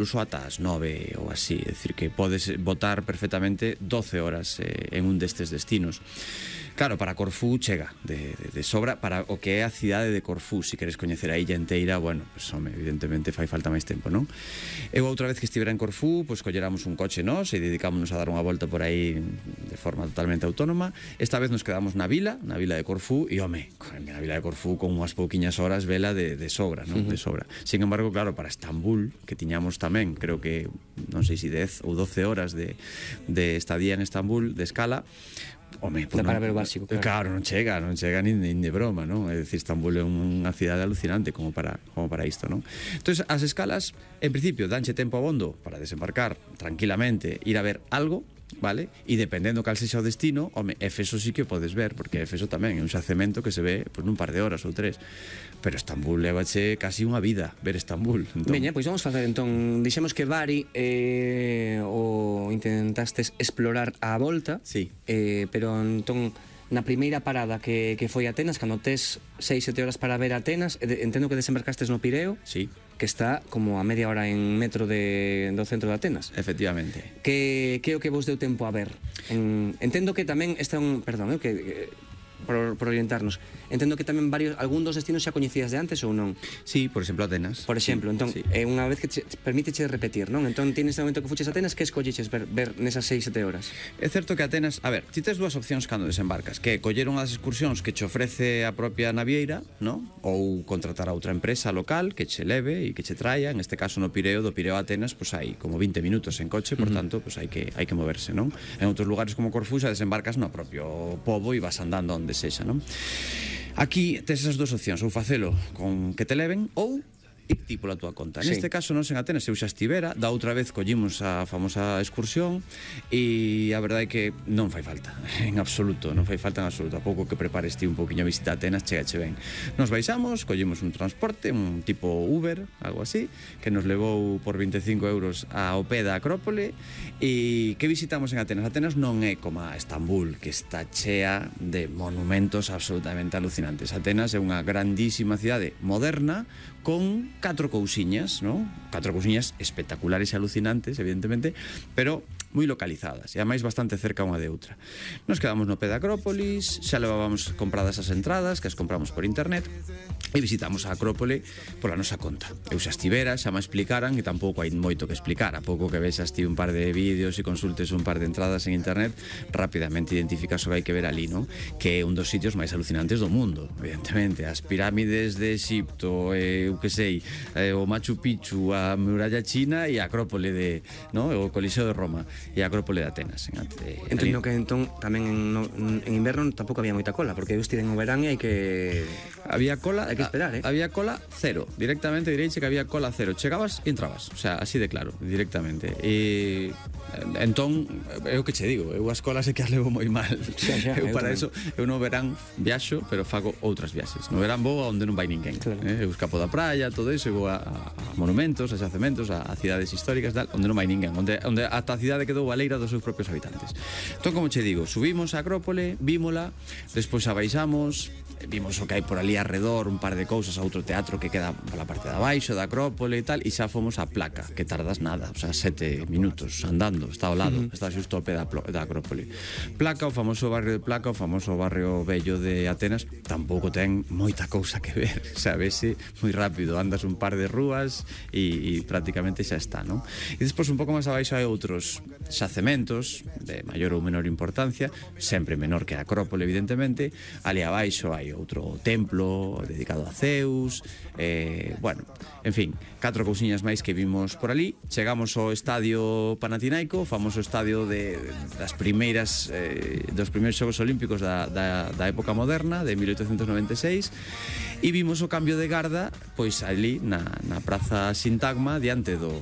incluso ata as 9 ou así, é dicir, que podes botar perfectamente 12 horas en un destes destinos. Claro, para Corfú chega de sobra para o que é a cidade de Corfú. Se queres coñecer a illa inteira, bueno, pues, home, evidentemente fai falta máis tempo, non? Eu outra vez que estivera en Corfú, pues colleramos un coche nós e dedicámonos a dar unha volta por aí de forma totalmente autónoma. Esta vez nos quedamos na vila de Corfú, e home, na vila de Corfú con unhas pouquiñas horas vela de sobra, non? De sobra. Sin embargo, claro, para Estambul, que tiñamos tamén, creo que, non sei se 10 ou 12 horas de estadía en Estambul, de escala, home, pues para ver o básico, claro, non chega nin de broma, non? É dicir, Estambul é unha cidade alucinante como para isto, non? Entonces, as escalas, en principio, danche tempo abondo para desembarcar tranquilamente, ir a ver algo, vale? E dependendo cal sexa o destino, home, Éfeso sí que podes ver, porque Éfeso tamén é un xacemento que se ve pues, nun par de horas ou 3. Pero Estambul levache casi unha vida ver Estambul. Entón... Veña, pois vamos facer entón, dixemos que Bari o intentastes explorar a volta, sí. Pero entón na primeira parada que foi Atenas, cando tes 6-7 horas para ver Atenas, entendo que desembarcastes no Pireo, sí, que está como a media hora en metro do centro de Atenas. Efectivamente. Que é o que vos deu tempo a ver? Entendo que tamén está un... Perdón, por orientarnos. Entendo que tamén algún dos destinos xa coñecías de antes ou non? Sí, por exemplo, Atenas. Por exemplo, entón, sí. Unha vez que permíteche repetir, non? Entón, tienes este momento que fuches a Atenas, que escolleches ver nesas 6-7 horas? É certo que Atenas, a ver, ti tes dúas opcións cando desembarcas, que coller unha das excursións que che ofrece a propia navieira, non? Ou contratar a outra empresa local que che leve e que che traia, en este caso no Pireo, do Pireo a Atenas, pois hai como 20 minutos en coche, por tanto, pois hai que moverse, non? En outros lugares como Corfú xa desembarcas no propio pobo e vas andando onde sexa, non? Aquí tes esas dúas opcións, ou facelo con que te leven ou ir ti pola túa conta. Sí. Neste caso, nos en Atenas eu xa estivera, da outra vez collimos a famosa excursión e a verdade é que non fai falta, en absoluto, non fai falta en absoluto. A pouco que prepares ti un pouquiño a visita a Atenas, chegache ben. Nos baixamos, collimos un transporte, un tipo Uber, algo así, que nos levou por 25 euros ao pé da Acrópole. E que visitamos en Atenas? Atenas non é como a Estambul, que está chea de monumentos absolutamente alucinantes. Atenas é unha grandísima cidade moderna con 4 cousiñas, non? 4 cousiñas espectaculares e alucinantes, evidentemente, pero moi localizadas, e ademais bastante cerca unha de outra. Nos quedamos no pé da Acrópolis, xa levábamos compradas as entradas, que as compramos por internet, e visitamos a Acrópole pola nosa conta. Eu xa estivera, xa me explicaran, e tampouco hai moito que explicar. A pouco que vexas ti un par de vídeos e consultes un par de entradas en internet, rapidamente identificas o que hai que ver ali, non? Que é un dos sitios máis alucinantes do mundo, evidentemente. As pirámides de Exipto, eu que sei, o Machu Picchu, a muralla china e a Acrópole no? O Coliseo de Roma e a Acrópole de Atenas. Entendo que entón tamén en inverno tampouco había moita cola, porque eu estive en o verán e hai que... Había cola, hai que esperar, había cola cero, directamente direiche que había cola cero. Chegabas e entrabas, o sea, así de claro, directamente. E entón, é o que che digo, eu as colas é que as levo moi mal. Eu para eso, eu no verán viaxo, pero fago outras viaxes. No verán vou a onde non vai ninguén. Claro. Eu escapo da praia, todo iso, e vou a monumentos, a xacementos, a cidades históricas, tal, onde non vai ninguén, onde ata a cidade quedou baleira dos seus propios habitantes. Entón, como che digo, subimos a Acrópole, vímola, despois abaixamos, vimos o que hai por ali arredor, un par de cousas, a outro teatro que queda pola parte de abaixo da Acrópole e tal, e xa fomos a Placa, que tardas nada, o sea, 7 minutos andando, está ao lado, está xusto ao pé da Acrópole. Placa, o famoso barrio de Placa, o famoso barrio bello de Atenas, tampouco ten moita cousa que ver, sabese, moi rápido, andas un par de rúas e prácticamente xa está, non? E despois un pouco máis abaixo hai outros xacementos de maior ou menor importancia, sempre menor que a Acrópole, evidentemente. Ali abaixo hai outro templo dedicado a Zeus, bueno, en fin, 4 cousiñas máis que vimos por ali. Chegamos ao estadio Panatinaico, o famoso estadio das primeiras dos primeiros Xogos Olímpicos da época moderna, de 1896, e vimos o cambio de garda pois ali na praza Sintagma, diante do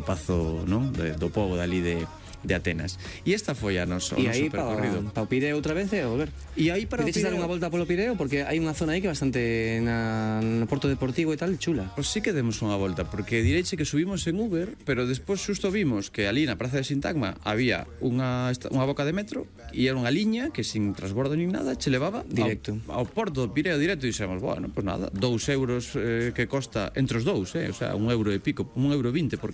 pazo, non? Do pobo dali de de Atenas. E esta foi o noso percorrido. Pa o Pireo outra vez e a volver. E aí para o Quereches dar Pireo... unha volta polo Pireo? Porque hai unha zona aí que é bastante no Porto Deportivo e tal, chula. Pois sí que demos unha volta, porque direiche que subimos en Uber, pero despois xusto vimos que ali na Praza de Sintagma había unha boca de metro e era unha liña que sin transbordo nin nada che levaba directo ao Porto do Pireo directo e dixemos, bueno, pois nada, 2 euros que costa entre os dous, o sea, 1 euro e pico, 1,20 € por